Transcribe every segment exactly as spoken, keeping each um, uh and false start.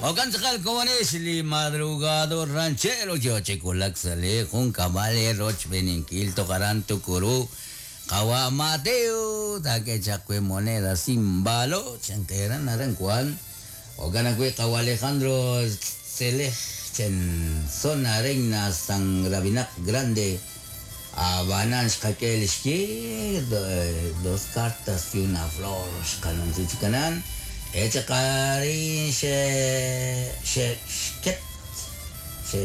Okan tz'aqal komonex li madrugador ranchero yo chikulak sa' jun kab'al rochb'eninkil toqaran tukuru qawa Mateo tak'e moneda sin valor chanqeran aran kuan okan ajwi' qawa Alejandro Tzelej chen zona Reina San Gravinaq Grande Abanan xqak'e lixye dos cartas y una flor xqanunsi chikanan echaqarin xe xe xket xe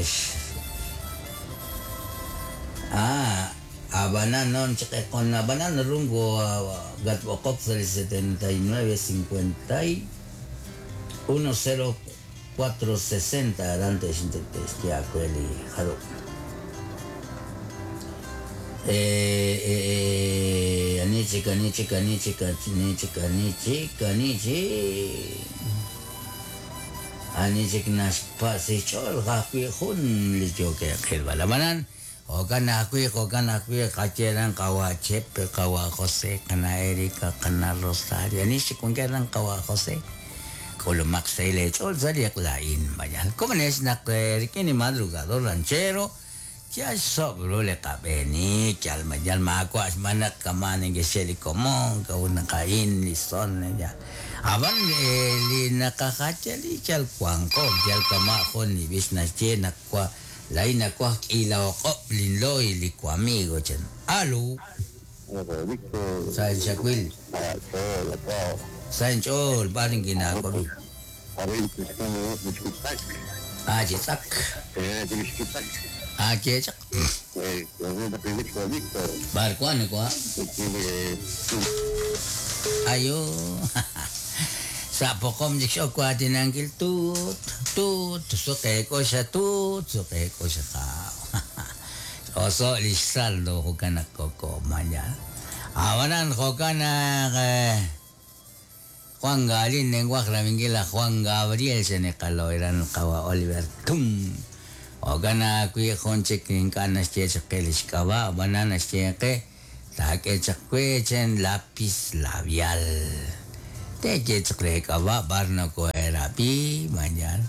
ah abanan non con abanan rungo gatbokop setenta y nueve cincuenta y uno cero cuatro sesenta adelante xintextiakueli jaro eh eh anichik anichik anichik anichik anichik anichik anichik naxpasichol qajwi jun liyokeqilba lamanan jo'kan ajwi' jo'kan ajwi' qacheran qawa Chepe qawa José qana Erika qana Rosario anixik wankeran qawa José k'ulumaq saylech'ol saliq la'in mayal komonex naq rik'in madrugador ranchero ya sobro le qab'eni yal mayal maawa' xmanaq kaman nkexel li komon k'a'ut naqa'in li son ya ab'an li naqajachali yal wanqo yal kama' jun li b'ix naxye naq wa la'in nakuaj k'ilaoq'ob' linloy li wamigo chan alu sa' xakwil sa' nch'ool b'ar inkinaakobi ah chitz'ak ah chechaq b'ar kuan kwa ayo sa' poqom chik xok waatinankil tut tut suqeek'o xa tut suqeek'o xa qaaw oso' lix saldo jo'kan naq kok'oman ya abanan jo'kan naq Juan Galín nenguaj raminkil aj Juan Gabriel xeneqalo'eran qawa Oliver Tum jo'kan ajwi' jun chik ink'a' naxye chaq qe lix k'ab'a' ab'anan naxye qe taak'e chaq we chen lápiz labial te chaq re k'ab'a' b'ar nako'erabi mañana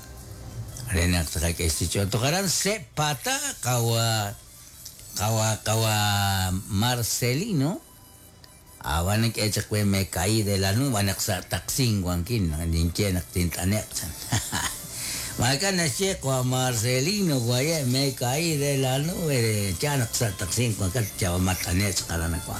re naq tqak'e toqaran sepata qawa qawa qawa Marcelino aban k'e chaq we me caí de la nube naq sa' taqsin wankin ninkye naq tint'aneq chan Makan naxye qawa Marcelino waye me caí de la nube cha naq sa' taqsin wankat chawa mat'aneq chaq aran wa.